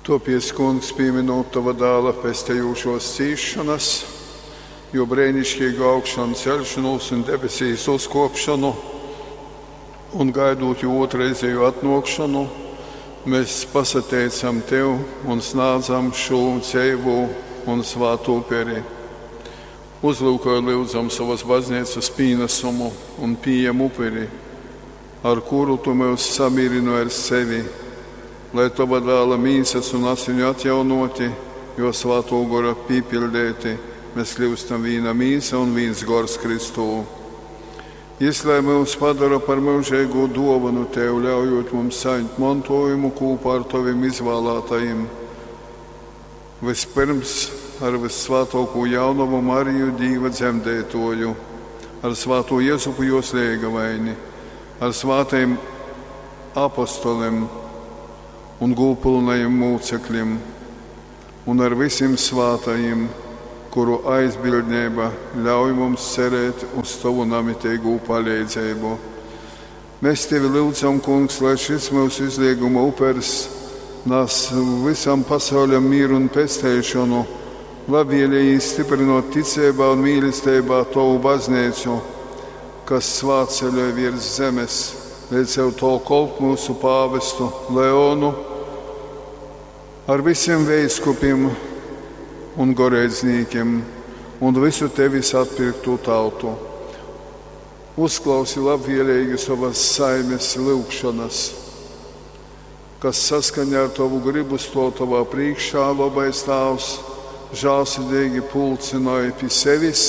Tuopiec, Kungs, pīminūt Tova Dāla pestejūšuos cīsšonas, Juo breiniškeigu augšanceļšonūs un debesīs uzkuopšonu, un gaidūt Juo ūtrreizejū atnuokšonu, mes pasateicam Tev un snādzam šū dzeivū un svātū uperi. Uzlyukoj, lyudzam, sovas Bazneicas pīnasumu un pījem uperi, ar kuru Tu myus samīrynoj ar sevi, lai Tova Dāla mīsas un asiņu atjaunōti, Juo Svātuo Gora pīpiļdeiti, mes kļyustam vīna mīsa un vīns gors Kristū. Jis lai myus padora par myužeigū duovonu Tev, ļaujūt mums sajimt montuojumu kūpā ar Tovim izvālātajim, vyspyrms ar vyssvātuokū jaunovu Mariju Dīva dzemdeituoju, ar svātū Jezupu juos leigavaini, ar svātajim apostolim un gūdpylnajim mūceklim un ar vysim svātajim, kuru aizbildneiba ļauj mums cerēt uz Tovu namiteigū paleidzeibu. Mes Tevi lyudzam, Kungs, lai šys myusu izleiguma upers nas vysam pasauļam mīru un pesteišonu, labvielejīs styprynuot ticeibā un mīlesteibā Tovu Bazneicu, kas svātceļoj viers zemes, leidz ar Tovu kolpu myusu pāvestu Leonu, ar vysim veiskupim un goreidznīkim un vysu Tevis atpirktū tautu. Uzklausi labvieleigi sovas saimes lyugšonas, kas saskaņā ar Tovu grybu stuov Tovā prīškā, lobais Tāvs, žālsirdeigi pulcynoj pi sevis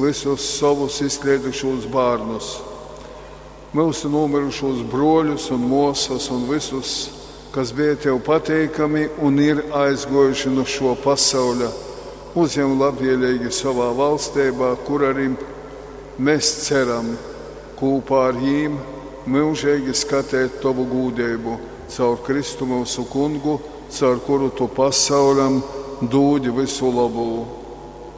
vysus sovus izkleidušūs bārnus, myusu nūmyrušūs bruoļus un muosas un vysus, kas beja Tev pateikami un ir aizguojuši nu šuo pasauļa, uzjem labvieleigi sovā valsteibā, kur arī mes ceram kūpā ar jīm myužeigi skatēt Tovu gūdeibu caur Kristu myusu Kungu, caur kuru Tu pasauļam dūdi vysu lobū.